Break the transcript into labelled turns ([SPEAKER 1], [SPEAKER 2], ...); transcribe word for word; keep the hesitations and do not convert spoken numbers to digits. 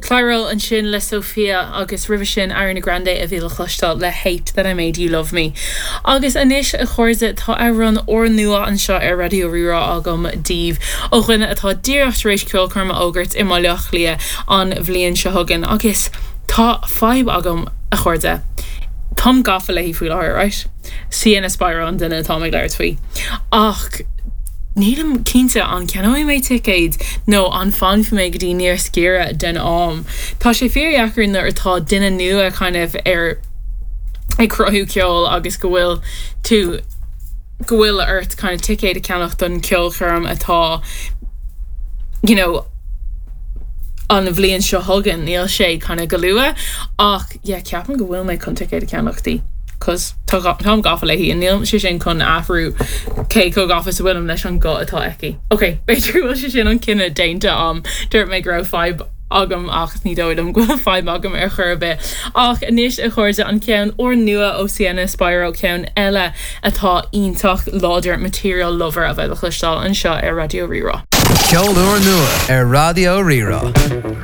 [SPEAKER 1] Clairo ansin le Sophia agus roimhe sin Ariana Grande a bhí le cloisteáil le Hate that I Made You Love Me. Agus anois a chairde tá amhrán úrnua anseo ar Raidió Rí-Rá agam daoibh ó dhuine atá díreach tar éis ceolchoirm a fhógairt i mBaile Átha Cliath an bhliain seo chugainn agus tá fadhb agam a chairde. Táim gafa léi faoi láthair, right? Sienna Spiro an duine atá ag labhairt faoi. Ach Nílim cinnte an gceannóidh mé ticéid nó an bhfanfaidh mé go dtí níos giorra den am. Tá sé fíordheacair nuair atá duine nua kind of ar ag cruthú ceol agus go bhfuil tú go bhfuil ort kind of ticéad a cheannach don ceolchoirm atá you know, an bhliain seo chugainn níl sé kind of go luath ach yeah, ceapaim go bhfuil mé chun ticéad a cheannach di. Cos táim gafa léi an níl sé sin chun athrú cé chomh gafa is a bhfuilim leis an guth atá aici. Ok, b'fhéidir bhfuil sé sin an cinneadh déanta agam dúirt mé go raibh fadhb agam ach ní dóigh liom go bhfuil fadhb agam ar chor ar bith. Ach anois a chairde an ceann úrnua ó Sienna Spiro ceann eile atá iontach láidir Material Lover a bheidh le cloisteáil anseo ar Raidió Rí-Rá.
[SPEAKER 2] Ceol úrnua ar Raidió Rí-Rá.